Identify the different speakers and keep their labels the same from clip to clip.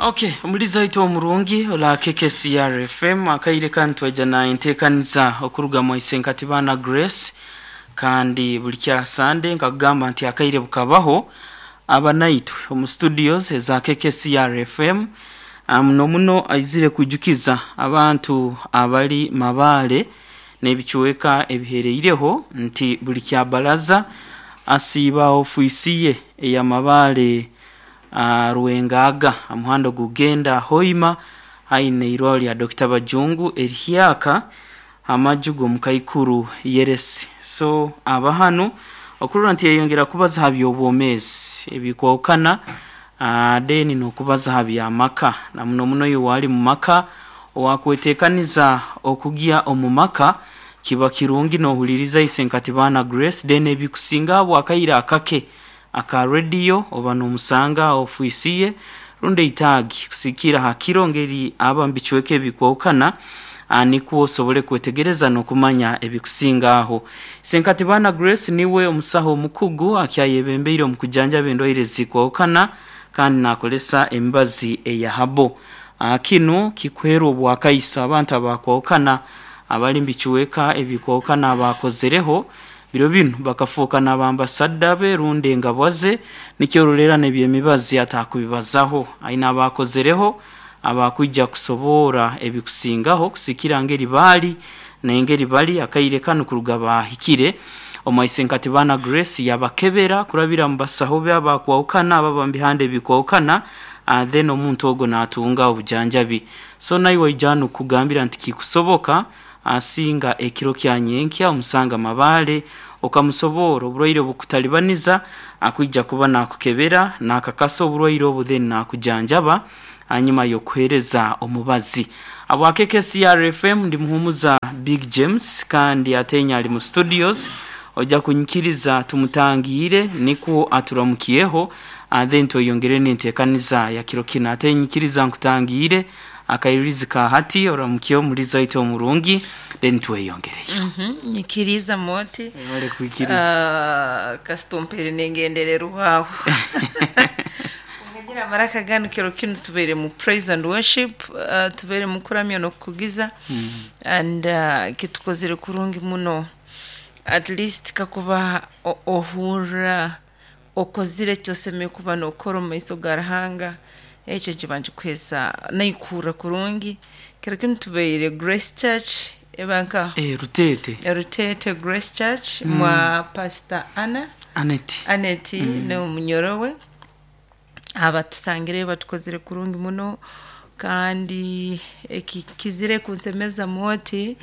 Speaker 1: Okay, omulizi waitu omurungi ola KKCR FM, akaire kanu twaija na enteekaniza okuruga mwa Isenkati Baana Grace, kandi buli kya Sande nkakugamba nti akaire bukabaho aba naitwe omu studios eza KKCR FM. Muno muno aizire kwijukiza abantu abali Mabaale n'ebicweka ebihereireho nti buli kya baraza asiiba ofiisi ye eya Mabaale Rwengaaga aha muhanda ogugenda Hoima haihi n'eirwaro lya Dokita Bajungu erihyaka amaju g'omukaikuru Yeresi. So aba hanu okurora nti yayongera kubaza ha by'obwomeezi ebikwahukana then n'okubaza ha by'amaka na muno muno iwe owali mu maka owakwetekaniza okugya omu maka kiba kirungi n'ohuliriza Isenkati Baana Grace then ebikusinga habw'akaire akake aka rediyo oba n'omusanga ha ofiisi ye rundi eitaagi kusigikirra ha kiro ngeri aba mu bicweka ebikwahukana nikwo osobole kwetegereza n'okumanya ebikusinga aho. Isenkati Baana Grace niwe omusaho omukugu akyayebembeire omu kujanjaba endwaire ezikwahukana kandi n'akozesa emibazi eya habo. Kinu kikuheerwa obwakaiso abantu abakwahukana abali mu bicweka ebikwahukana abaakozereho biro binu bakafooka n'abambasadda be rundi engabwa ze, nikyo ororerra n'eby'emibazi atakubibazaho. Aine abaakozereho abakwija kusoboora ebikusingaho kusikira ngeri baali n'engeri bali akaire kanu kuruga baahikire omu Isenkati Baana Grace yabakebera kurabira mu basaho be abakwahukana ababa mu bihanda ebikwahukana then omuntu ogwo n'atunga obujanjabi. So naiwe waija hanu kukugambira nti kikusoboka asinga ekiro kya nyenkya omusanga Mabaale okamusoboora oburwaire obukutalibaniza akwija kuba nakukebera nakakasa oburwaire obu then nakujanjaba hanyuma y'okuhereza omubazi. Habwa KKCR FM ndi Muhumuza Big James kandi ate ali mu studios oja kunyikiriza tumutangiire nikwo aturamukyeho then tweyongere n'enteekaniza ya kiro kinu. Ate nyikiriza nkutangiire akairirizi ka hati oramukye omulizi waitu omurungi then tweyongereyo.
Speaker 2: Nyikiriza moti.
Speaker 1: Webale kwikiriza.
Speaker 2: Kasita ompeire nengendererwaho. Ngira amaraka ganu kiro kinu tubeire mu praise and worship, tubeire mu kuramya n'okukugiza and kitukozire kurungi muno. At least kakuba ohurra okozire eki osemeriire kuba nookora omu maiso ga Ruhanga, ekyo nikiba nikikuheesa naikuhurra kurungi. Kiro kinu tubaire Grace Church eba nka
Speaker 1: Ruteete.
Speaker 2: Ruteete Grace Church mwa Pastor Anna
Speaker 1: Aneti.
Speaker 2: Aneti n'omunyoro we. Abatusangireyo batukozire kurungi muno kandi ekikizire kunsemeza moti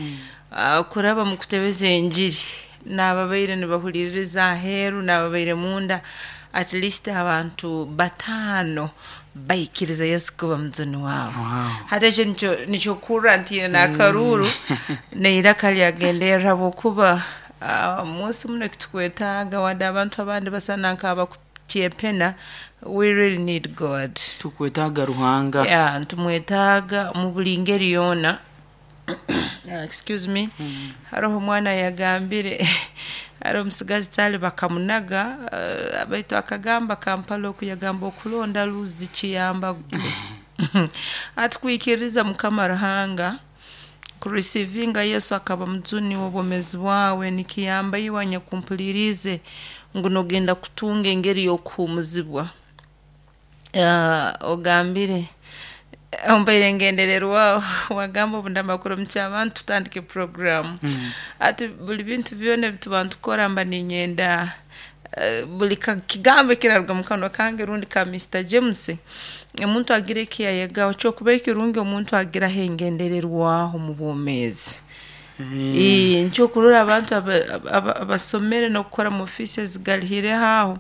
Speaker 2: kuraba mu kutebeza enjiri n'ababaire nibahuliriza aheeru n'ababaire munda at least abantu 5 baikiriza Yesu kuba mujuni waabo. Hati ekyo nikyo kurra ntiine n'akaruuru n'eiraka lyagenderra habwokuba munsi muno ekitukwetaaga wadde abantu abandi basana nk'abakukyepena, we really need God.
Speaker 1: Tukwetaaga Ruhanga.
Speaker 2: Yeah, nitumwetaaga mu buli ngeri yoona. Excuse me. Haroho omwana yagambire haroho omusigazi Charlie bakamunaga baitu akagamba Kampala oku yagamba okulonda luzi kiyamba gwe. Hati kwikiriza Mukama Ruhanga kurisiivinga Yesu akaba mujuni w'obwomeezi bwawe nikiyamba iwe anyakumpuliriize ngu noogenda kutunga engeri y'okuhuumuzibwa. Ogambire ompaire engendererwaho wagamba obu ndamara kuramukya abantu tutandike puroguraamu. Hati buli bintu byona ebi tuba nitukora mba niinyenda buli kigambo ekiraruga mu kanwa kange rundi ka Mr James, omuntu agire eki yayegaho. Kyokuba ekirungi omuntu agiraho engendererwaho omu bwomeezi. Nikyo okurora abantu abasomere n'okukora mu ofiisi ezigalihireho aho,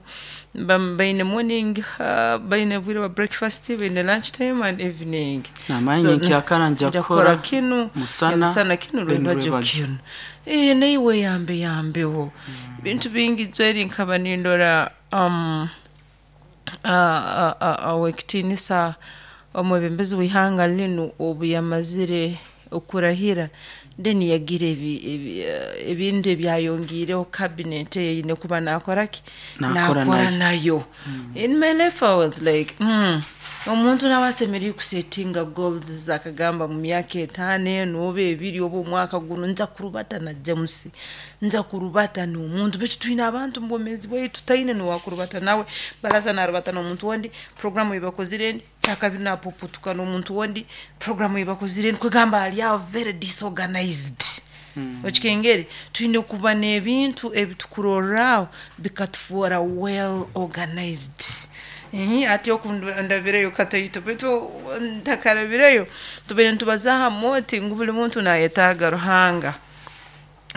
Speaker 2: baine morning, baine obwire bwa breakfast, baine lunch time and evening.
Speaker 1: Namanya nyenkyakara nja
Speaker 2: Nja
Speaker 1: kukora
Speaker 2: kukora kinu,
Speaker 1: musana,
Speaker 2: emisana kinu,
Speaker 1: then
Speaker 2: rwebagyo
Speaker 1: rwebagyo.
Speaker 2: kinu. Naiwe yambe yambeho. Bintu bingi jweri nkaba nindora ow'ekitiinisa omwebembezi w'ihanga linu obu yamazire okurahira then yagira ebintu ebyayongiireho cabinet eine kuba naakora ki?
Speaker 1: Naakora
Speaker 2: Naakora
Speaker 1: nayo.
Speaker 2: nayo. In my life I was like. Omuntu nawe asemeriire kusetinga goals, akagamba mu myaka 5 enu oba 2 oba omwaka guno nja kurubata na James, nja kurubata n'omuntu. Baitu twine abantu mu bwomeezi bwaitu taine n'owakurubata nawe, baraza narubata n'omuntu ondi, puroguramu ei bakozire endi, kyakabiri napupuutuka n'omuntu ondi, puroguramu ei bakozire endi, kwegamba ali aho very disorganized. Okikengere? Twine kuba n'ebintu ebi tukurorraho bikatufoora well organized. Hati oku ndabireyo kataito, baitu ntakarabireyo, tubaire nitubazaaho amooti ngu buli muntu naayetaaga Ruhanga.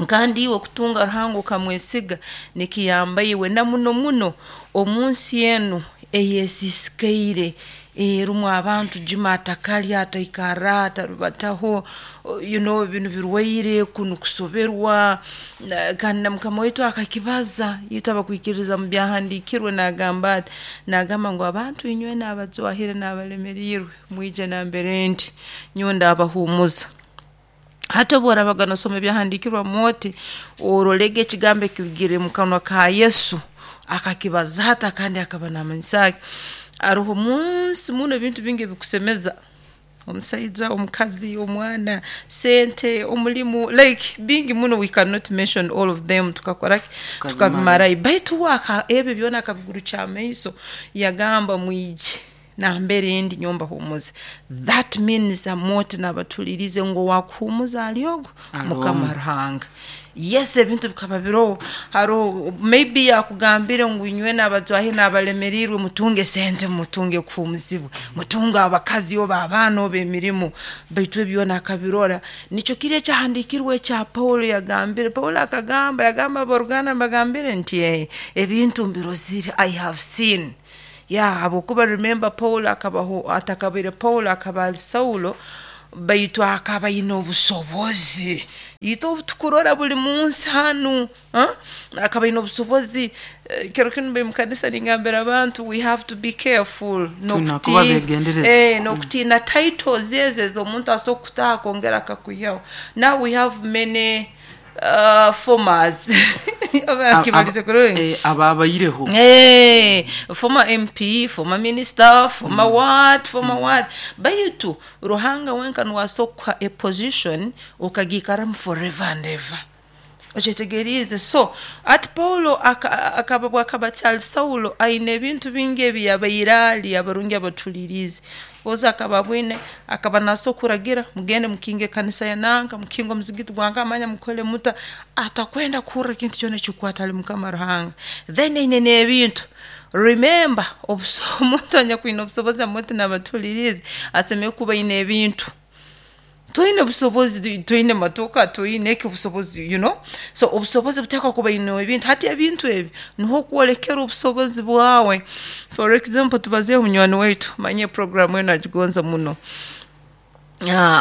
Speaker 2: Kandi iwe kutunga Ruhanga okamwesiga nikiyamba iwe na muno muno omu nsi enu ey'esiisikaire erumu abantu juma atakalya, ataikarra, atarubataho, you know binu birwaire, kunu kusoberwa, kandi na mukama waitu akakibaza, itwe abakwikiririza mu byahandiikirwe naagamba ati, naagamba ngu abantu inywena abajwahire n'abalemeriirwe mwije nambere ndi, nyowe ndaabahuumuza. Hati obu oraabaga noosoma ebyahandiikirwe oti, orolege ekigambo ekirugire mu kanwa ka Yesu, akakibaza ata kandi akaba naamanyisa ki? Haroho munsi muno ebintu bingi ebikusemeza, omusaija, omukazi, omwana, sente, omulimu, like bingi muno we cannot mention all of them tukakora ki? Tukabimarayo. Baitu uwe ebyo byona akabigurukya amaiso yagamba mwije nambere ndi nyowe mbahuumuze. That means amooti naabatuliirize ngu owaakuhuumuza ali ogu Mukama Ruhanga. Yes, ebintu bikaba biroho, haroho maybe yakugambire ngu inywena abajwahire n'abalemeriirwe mutunge sente mutunge kuhuumuzibwa, mutunge abakazi oba abaana oba emirimo, baitu ebi byona akabirora. Nikyo kiri ekyahandiikirwe ekya Paulo yagambire. Paulo akagamba, yagamba ab'oruganda mbagambire nti ebintu mbirozire, I have seen. Yeah, habwokuba remember Paulo akabaho, atakabaire Paulo akaba ali Saulo, baitu akaba aine obusobozi. Itwe obu tukurora buli munsi hanu, akaba aine obusobozi. Kiro kinu mbaire mu kanisa ningambira abantu we have to be careful
Speaker 1: Twine kuba begendereza.
Speaker 2: n'okutiina titles ezi ez'omuntu asobora kukutaho akongera akakwihaho. Now we have many formers oba nkibalize kurungi?
Speaker 1: Abaabaireho.
Speaker 2: Former MP, former minister, former what, former what. Baitu Ruhanga wenka nuwe asobora kukuha a position okagiikaramu forever and ever. Okyetegeriize? So hati Paulo akaba obu akaba akyali Saulo aine ebintu bingi ebi yabaire ali abarungi abatuhuliriize. Ozi akaba abwine, akaba naasobora kuragira mugende mukinge ekanisa ya nanka, mukinge omuzigiti gwa nka, manya mukole muta, atakwenda kuhurra ekintu kyona ekikukwata hali Mukama Ruhanga. Then aine n'ebintu. Remember, omuntu anyakwine obusobozi amooti n'abatuhuliriize asemeriire kuba aine ebintu. Toine busobozi, toine motoka, toine eki obusobozi, you know. So obusobozi buteekwa kuba aine ebintu. Hati ebintu ebi nuho okwolekera obusobozi bwawe. For example, tubazeeho munywani waitu, manya puroguramu enu agigonza muno.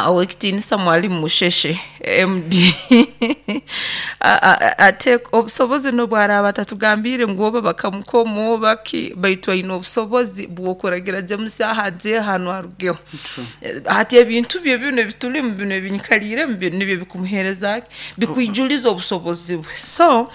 Speaker 2: Ow'ekitiinisa Mwalimu Musheshe MD obusobozi n'obu araaba atatugambiire ngu oba bakamukoma oba ki, baitu aine obusobozi bw'okuragira James aha aje hanu arugeho. Hati ebintu bye binu ebitulimu binu ebinyikaliiremu binu nibyo bikumuheereza ki? Bikwijuliza obusobozi bwe. So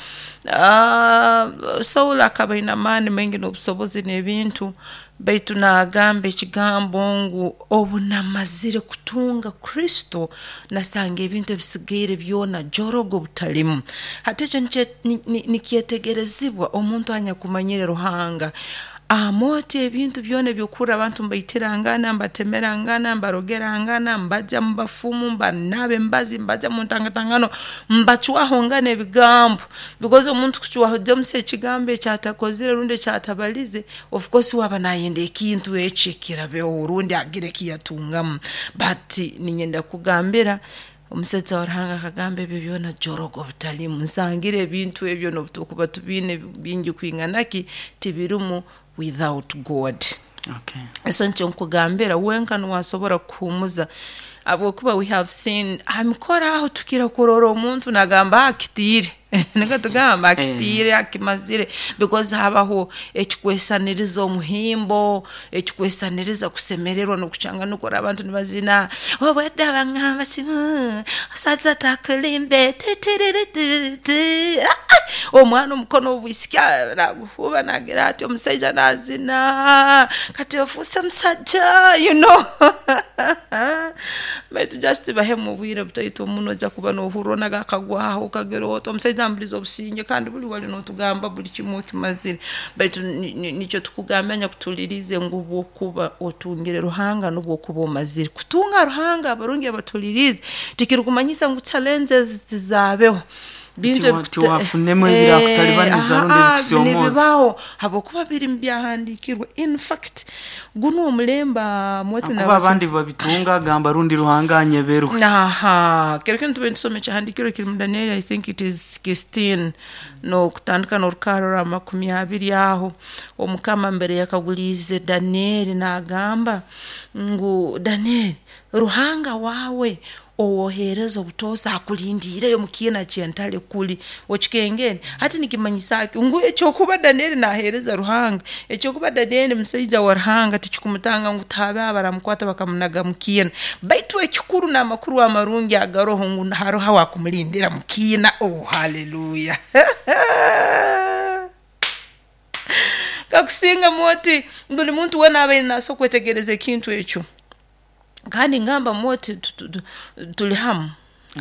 Speaker 2: Saulo akaba aine amaani maingi n'obusobozi n'ebintu, baitu naagamba ekigambo ngu obu namazire kutunga Kristo, nasanga ebintu ebisigaire byona jorogo butalimu. Hati ekyo nikyetegerezibwa omuntu anyakumanyire Ruhanga. Amooti ebintu byona eby'okuhurra abantu mbaitirangana, mbatemerangana, mbarogerangana, mbagya mu bafumu, mbanaaba emibazi, mbagya mu ntangatangano, mbacwahongana ebigambo. Because omuntu kucwaho James ekigambo eki atakozire rundi eki atabalize, of course uwe aba nayenda ekintu eki kirabeho rundi agire eki yatungamu. But niinyenda kukugambira, omusaija wa Ruhanga akagamba ebyo byona jorogo butalimu. Nsangire ebintu ebyo n'obu turukuba tubiine bingi kwingana ki, tibirimu without God.
Speaker 1: Okay.
Speaker 2: So nikyo nkukugambira, wenka nuwe asobora kukuhuumuza. Habwokuba we have seen ha mikoro aho tukira kurora omuntu nagamba akitiire, nikwo tugamba akitiire, akimazire, because habaho ekikwesaniriza omuhimbo, ekikwesaniriza kusemererwa n'okucanga nukora abantu nibazina obwedda bangamba kimu osaza takulimbe titiriririti, omwana omukono obwisiki naguhuba nagira ati, omusaija nazina kati ofuuse musajja, you know. Baitu just bahemu obwire butaito muno, ojja kuba nohurra onaga akagwaho okagira oti omusaija mbulize obusinge, kandi buli wali notugamba buli kimu okimazire. Baitu nikyo tukugambira nyakutuhuliriize ngu obwokuba otungire Ruhanga nubwo okuba omazire. Kutunga Ruhanga abarungi abatuliriize tikirukumanyisa ngu challenges tizaabeho. Bintu
Speaker 1: Tiwafunemu ebirakutalibaniza rundi ebikusyomooza.
Speaker 2: Nibibaho habwokuba biri mu byahandiikirwe. In fact gunu omulembe mwete
Speaker 1: Kuba abandi babitunga agamba rundi Ruhanga anyeberwe.
Speaker 2: Aha, kiro kinu tube nitusoma ekyahandiikirwe kiri mu Danieri, I think it is 16, n'okutandika n'orukarra orwa 20 aho. Omukama mbere yakaguliize Danieri naagamba ngu Danieri, Ruhanga waawe owoheereza obutoosa akulindiireyo mu kiina ky'entale kuli okikengere. Hati nikimanyisa ki? Ngu ekyokuba Danieri naaheereza Ruhanga, ekyokuba Danieri musaija wa Ruhanga tikikumutanga ngu tihabeho abaramukwata bakamunaga mu kiina. Baitu ekikuru n'amakuru amarungi agaroho ngu haroho awakumulindira mu kiina. Oh, haleluya! Kakusingamu oti buli muntu weena abaire naasobora kwetegereza ekintu ekyo. Kandi ngamba oti tuli hamu,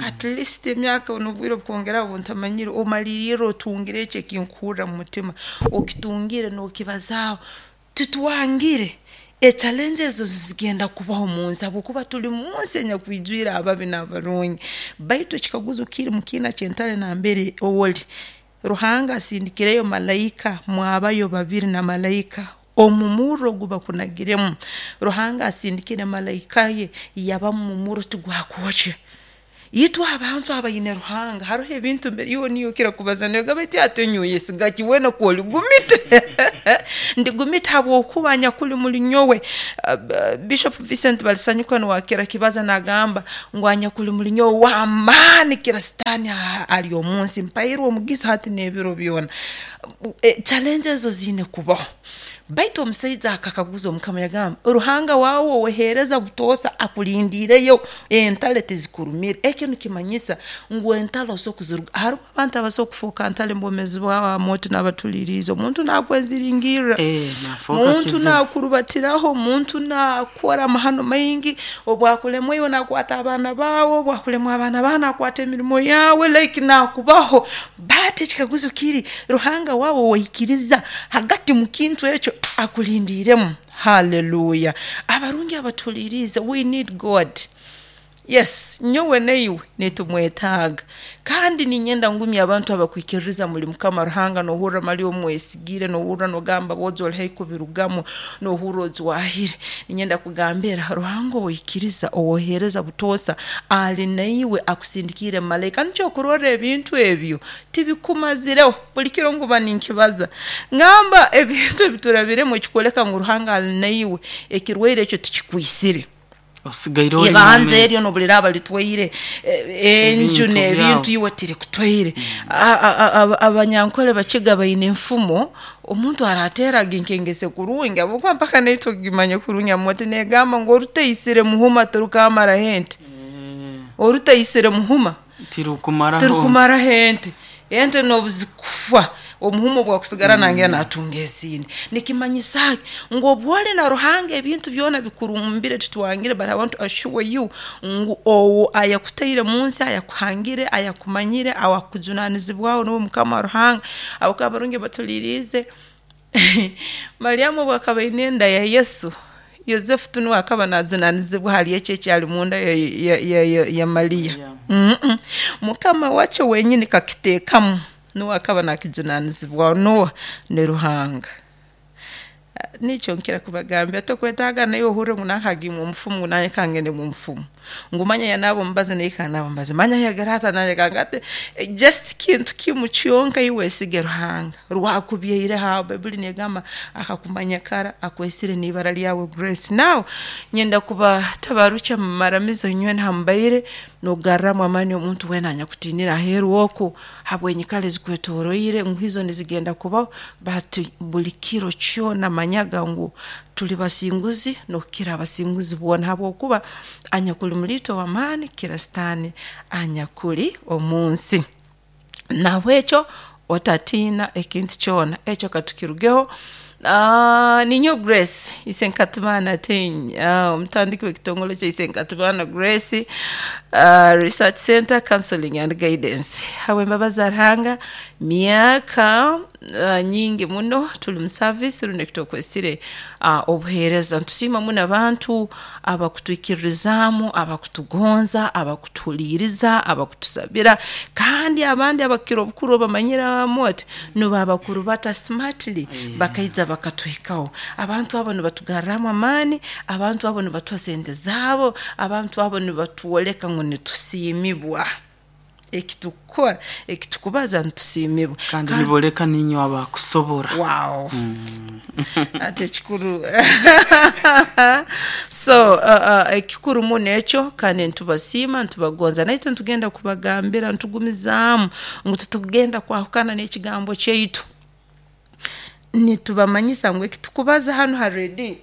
Speaker 2: at least emyaka n'obwire obukwongeraho obu ntamanyire, omaliriire otungire eki ekinkuhurra mu mutima, okitungire n'okibazaaho. Titwangire echallenges ezo zigenda kubaho mu nsi habwokuba tuli mu nsi enyakwijwire ababi n'abarungi. Baitu ekikaguzo kiri mu kiina ky'entale nambere oli, Ruhanga asindikireyo malaika, mwabayo babiri na malaika omu murro ogu bakunagiremu. Ruhanga asindikire malaika ye yabamu mu murro tigwakwokya. Itwe abantu abaine Ruhanga haroho ebintu mbere iwe niiwe okira kubaza nogamba oti ati nyowe oyesiga ki weena kw'oligumita? Ndigumita habwokuba anyakuli muli nyowe. Bishop Vincent Balisanyuka nuwe akira kibaza nagamba ngu anyakuli muli nyowe w'amaani kira Sitaani ali omu nsi, mpairwe omugisa hati n'ebiro byona. Challenge ezo ziine kubaho. Baitu omusaija akakaguza omukama yagamba, Ruhanga waawe oweheereza butoosa akulindiireyo, entale tizikurumire. Eki nikimanyisa ngu entale osobola kuziruga. Harumu abantu abasobola kufooka ntale mu bwomeezi bwabo oti n'abatuliriize. Omuntu naakweziringirra, omuntu naakurubatiraho, omuntu naakukora amahano maingi, obu akulemwa iwe naakwata abaana baawe, obu akulemwa abaana baawe naakwata emirimo yaawe, like naakubaho. But ekikaguzo kiri, Ruhanga waawe owaikiriza hagati mu kintu ekyo akulindiiremu? Haleluya! Abarungi abatuhuliriize, we need God. Yes, nyowe naiwe nitumwetaaga. Kandi niinyenda ngumye abantu abakwikiririza muli Mukama Ruhanga, noohurra mali omwesigire, noohurra noogamba bwojo oli haihi kubirugamu, noohurra ojwahire. Niinyenda kugambira Ruhanga owaikiriza, owoheereza butoosa ali naiwe akusindikiire malaika. Nikyo okurorra ebintu ebyo tibikumazireho. Buli kiro nkuba ninkibaza, ngamba ebintu ebi turabiremu ekikwoleka ngu Ruhanga ali naiwe, ekirwaire ekyo tikikwisire.
Speaker 1: Osigaire ori
Speaker 2: Ibanja
Speaker 1: mwomeezi.
Speaker 2: eryo n'obu liraaba litwaire enju
Speaker 1: Ebintu
Speaker 2: n'ebintu
Speaker 1: byawe.
Speaker 2: iwe tirikutwaire. Abanyankole Bakiga baine enfumo, omuntu arateeraga enkengese kurungi habwokuba mpaka naitwe kugimanya kurungi ati negamba ngu orutaisire muhuma tirukamaraho ente. Orutaisire muhuma
Speaker 1: Tirukumaraho.
Speaker 2: Tirukumaraho ente. Ente n'obu zikufa, omuhuma obu akusigara nangenda natunga ezindi. Nikimanyisa ki? Ngu obu oli na Ruhanga ebintu byona bikurumbire titwangire, but I want to assure you ngu owo ayakutaire mu nsi, ayakuhangire, ayakumanyire, awakujunanizibwaho nuwe Mukama Ruhanga. Habwokuba abarungi batuliriize, Mariamu obu akaba aine enda ya Yesu, Yosefu tinuwe akaba najunanizibwa hali eki ekyali munda ya Mariya. Mukama wakyo wenyini kakiteekamu, nuwe akaba nakijunanizibwaho, noha? Ni Ruhanga. Nikyo nkira kubagambira, tokwetaaga naiwe ohurre ngu nanka agiire mumufumu, ngu nanye kangende mumufumu, ngu manya yanaaba omubazi naye kanaabe omubazi, manya yagire ata nanye kangire, just kintu kimu kyonka iwe wesige Ruhanga rwakubyaireho aho. Baiburi negamba akakumanya kara, akwesire n'ibara ryawe Grace. Now nyenda kubatabarukya mumaramizo inywena hamubaire n'okugarramu amaani omuntu weena anyakutiinire aheeru oku habw'enyikara ezikwetoroire ngu izo nizigenda kubaho, but buli kiro kyona manyaga ngu tuli basinguzi n'okukira abasinguzi boona habwokuba anyakuli omuli itwe w'amaani kukira Sitaani anyakuli omunsi. Nahabwekyo otatiina ekintu kyona, ekyo katukirugeho. Ninyowe Grace Isenkatibana Ateenyi, omutandiki w'ekitongole kya Isenkatibana Grace Research Center Counseling and Guidance. Habw'embabazi za Ruhanga, myaka nyingi muno turi mu service rundi eki twakwesire obuheereza. Nitusiima muno abantu abakutwikiririzaamu, abakutugonza, abakutuhuliiriza, abakutusabira, kandi abandi abakukira obukuru obamanyire oti nubo abakurubata smartly bakaija bakatuhikaho. Abantu abo nibatugarramu amaani, abantu abo nibatuha sente zaabo, abantu abo nibatwoleka ngu nitusiimibwa. Eki tukukora, eki tukubaza nitusiimibwa.
Speaker 1: Kandi niboleka niinywe abakusobora.
Speaker 2: Wow. Ati ekikuru so ekikuru muno ekyo, kandi nitubasiima, nitubagonza, naitwe nitugenda kubagambira nitugumizaamu ngu titugenda kwahukana n'ekigambo kyaitu. Nitubamanyisa ngu eki tukubaza hanu ha rediyo,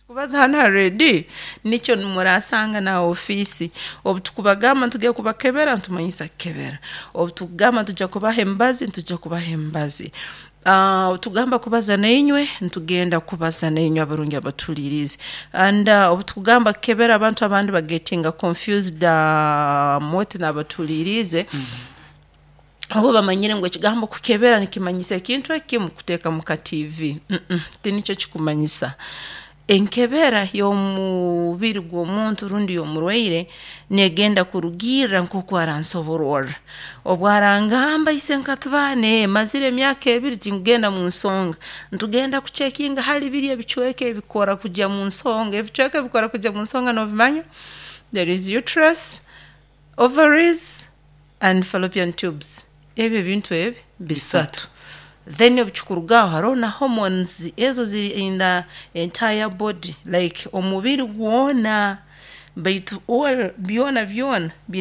Speaker 2: tukubaza hanu ha rediyo nikyo murasanga na ha ofiisi. Obu tukubagamba nitugenda kubakebera, nitumanyisa kukebera, obu tukugamba nitujya kubaha emibazi, nitujya kubaha emibazi, obu tukugamba kubaza nainywe, nitugenda kubaza nainywe abarungi abatuhuliiriize. And obu tukugamba kukebera, abantu abandi bagetinga confused oti n'abatuhuliiriize, obu bamanyire ngu ekigambo kukebera nikimanyisa ekintu ekimu kuteeka mu ka TV, tinikyo kikumanyisa. Enkebera y'omubiri gw'omuntu rundi y'omurwaire negenda kurugiirra nk'oku aransobororra. Obu arangamba Isenkatibana mazire emyaka 2 tinkugenda mu nsonga, nitugenda kucekinga hali biri ebicweka ebikora kugya mu nsonga. Ebicweka ebikora kugya mu nsonga noobimanya? There is uterus, ovaries and fallopian tubes. Ebi ebintu ebi bisatu. Then obu kikurugaho haroho na hormones ezo ziri in the entire body like omubiri gwona, baitu all byona byona.